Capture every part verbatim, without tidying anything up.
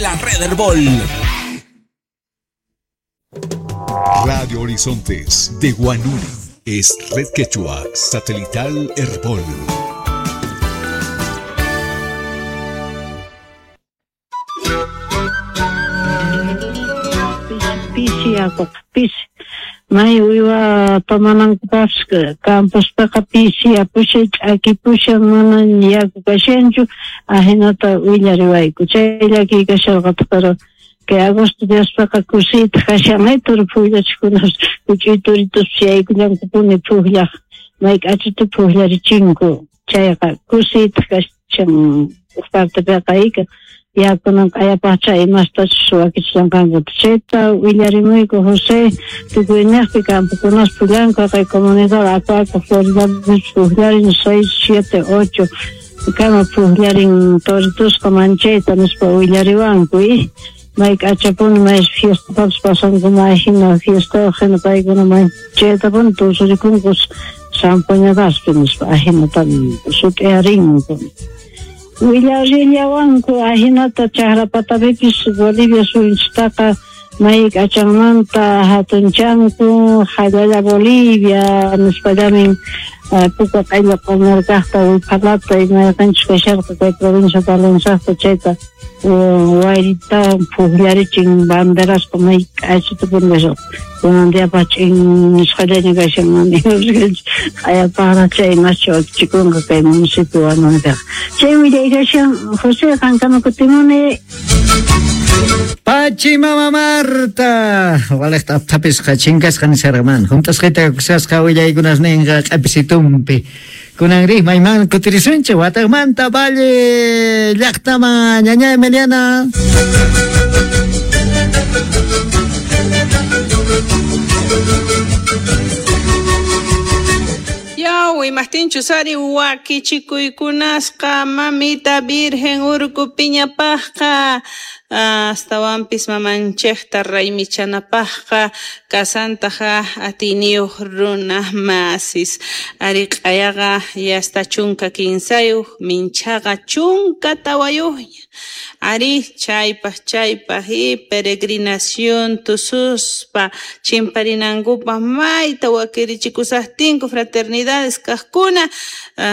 la red Herbol. Radio Horizontes de Huanuri es Red Quechua Satelital Herbol. Pisi yakuqa pisi may uywa tomanankupaqpis campospiqa pisi yapushan ch'akipushan mana yaku kashanchu ahinata willariwayku chay llakiy kasharqataq pero kay agosto diaspiqa kusiytaq kashan may turu pukllachikunapas huch'uy turituspas yaykullankupuni pukllaq may k'achita pukllarichinku chayqa kusiytaq kashan huk partepiqa ika yakunan q'ayapaqcha imastachus wakichishanqankuta chayta willarimuyku José tukuyniqpi campokunas pukllanku kay comunidad Aco Aco Floridapis pukllarin seis siete ocho kama pukllarin toritusqa manchayta nispa willariwanku y may k'achapuni may fiestapapis pasanku may hina fiestayuq hina paykuna manchaytapuni tusurikunku zampoñadaspi nispa ahinata sut'iyarinku willarillawanku ahinata chaqra patapipis Bolivia suyunchistaqa may k'achanmanta hatunchanku hallalla Bolivia nispallamin puka q'illa q'umirkaqta wiphalata imayqanchus kasharqa kay provincia Palenciaqta chayta wayritawan pukllarichin banderasqa may k'achitapuni kasharqa kunan diapaq ch'in nisqallaña kashan mana q'ayapaqraq chay imascha wakichikunqa kay municipio Huanuripiqa chay willay kashan José qankama kutimuni. Pachi mama Marta, waliqta apthapisqa chinkasqa nisharqa mana hunt'asqayta kusasqa willaykunas ninqa q'apisitumpi kunanri mayman kutirisunchik wataqmanta Valle llaqtaman ñaña Emiliana. Yaw, imaqtinchus ari wakichikuykunasqa mamita Virgen Urkupiñapaqqa astawanpis mamanchikta raymichanapaqqa kasantaqa atiyniyuq runa masis ari q'ayaqa yasta chunka kinsayuq minchaqa chunka tawayuqña ari chaypaq chaypaq y peregrinación tususpa chimparinankupaq mayta wakirichikusaqtinku fraternidades kaqkuna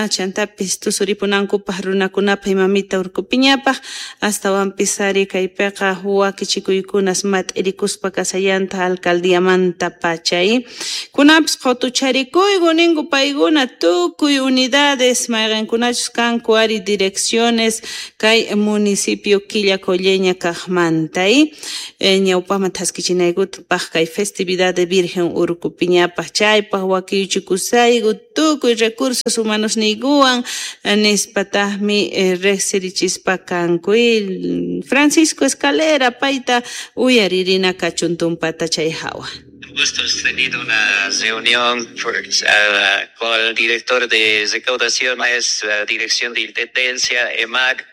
chantapis tusuripunankupaq runakunapaq mamita Urkupiñapaq astawanpis ari kay kaypiqa wakichikuykunas mat'irikuspa kasallanta alcaldiamanta pachay kunapis qutucharikuyku ninku paykuna tukuy unidades mayqinkunachus kanku ari direcciones kay municipio Quillacolleña kaqmanta ñawpaqman thaskichinaykutapaq kay festividad de Virgen Urkupiñapaq chaypaq wakiyuchikusayku tukuy recursos humanos niykuwan nispataqmi riqsirichispa kanku Francisco Escalera payta uyaririna kachun tumpata chay hawa. Gusto hemos tenido una reunión por, uh, con el director de recaudación, es la dirección de intendencia, E M A C,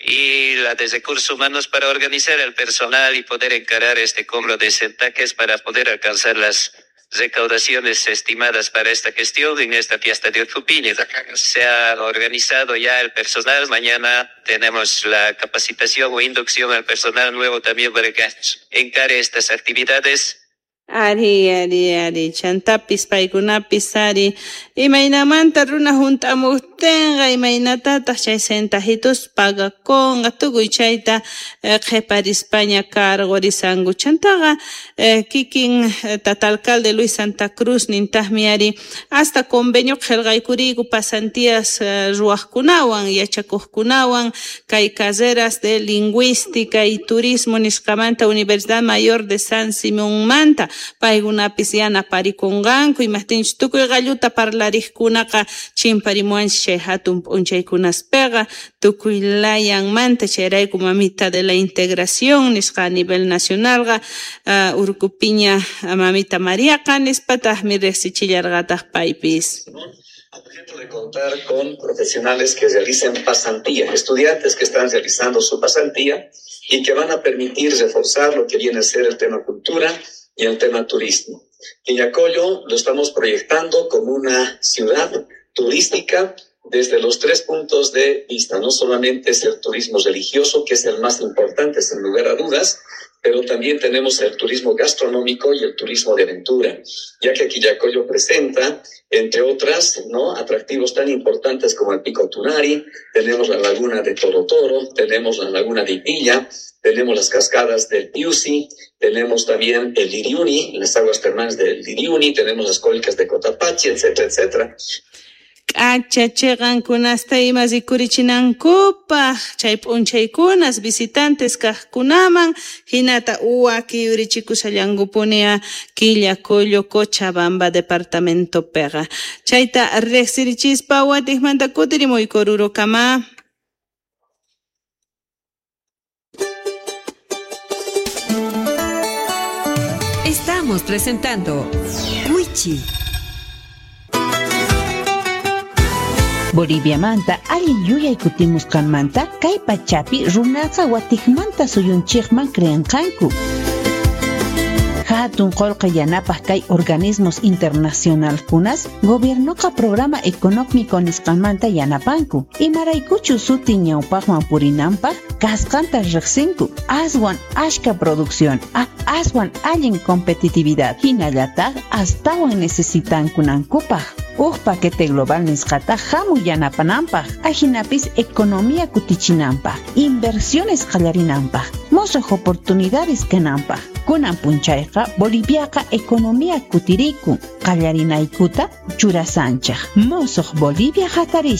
y la de recursos humanos para organizar el personal y poder encarar este cobro de centaques para poder alcanzar las recaudaciones estimadas para esta gestión en esta fiesta de Urcupiña. Se ha organizado ya el personal. Mañana tenemos la capacitación o inducción al personal nuevo también para que encare estas actividades. Ari, ari, ari, chantapis, paykunapis, ari, imaynamanta runa hunt'amuqtinqa, imaynatataq chay centajitos pagakunqa, tukuy chayta qhiparispaña cargorisanku. Chantaqa kikin tata alcalde Luis Santa Cruz nintaqmi ari, hasta convenio qillqaykuriyku pasantías ruwaqkunawan, yachakuqkunawan, kay carreras de lingüística y turismo nisqamanta Universidad Mayor de San Simonmanta. Paykunapis yanaparikunqanku imaqtinchus tukuy qalluta parlariqkunaqa chimparimuwanchik chay hatun p'unchaykunaspiqa tukuy layanmanta chayrayku mamita de la integración nisqa a nivel nacionalqa uh, Urkupiña mamita Mariaqa nispataqmi riqsichillarqataq paypis. Objeto de contar con profesionales que realicen pasantía, estudiantes que están realizando su pasantía y que van a permitir reforzar lo que viene a ser el tema cultura y el tema turismo. Quillacollo lo estamos proyectando como una ciudad turística desde los tres puntos de vista. No solamente es el turismo religioso, que es el más importante, sin lugar a dudas, pero también tenemos el turismo gastronómico y el turismo de aventura, ya que Quillacollo presenta, entre otras, ¿no?, atractivos tan importantes como el Pico Tunari, tenemos la laguna de Toro Toro, tenemos la laguna de Ipilla, tenemos las cascadas del Piusi, tenemos también el Liriuni, las aguas termales del Liriuni, tenemos las cólicas de Cotapachi, etcétera, etcétera. K'acha chiqankunasta ima rikurichinankupaq chay p'unchaykunas visitantes kaqkunaman hinata waki yurichikushallankupuni Quillacollo Cochabamba departamentopiqa chayta riqsirichispa watiqmanta kutirimuyku Orurokama. Estamos presentando Wichi. Boliviamanta allin yuyay kutimusqanmanta kay pachapi runaqa watiqmanta suyunchikman creenqanku. Hatun qullqi yanapaq kay organismos internacionalkunas gobiernoqa programa económico nisqanmanta yanapanku imaraykuchu suti ñawpaqman purinanpaq kasqanta riqsinku aswan ashka producción a aswan allin competitividad hinallataq astawan necesitankunankupaq uj paquete global nisqata hamuy yanapananpaq ajinapis economía kutichinanpaq inversiones qallarinanpaq musuq oportunidades kananpaq kunan punchayqa Boliviaqa economía kutirikun qallarinaykuta churasanchaq musuq Bolivia hatarish.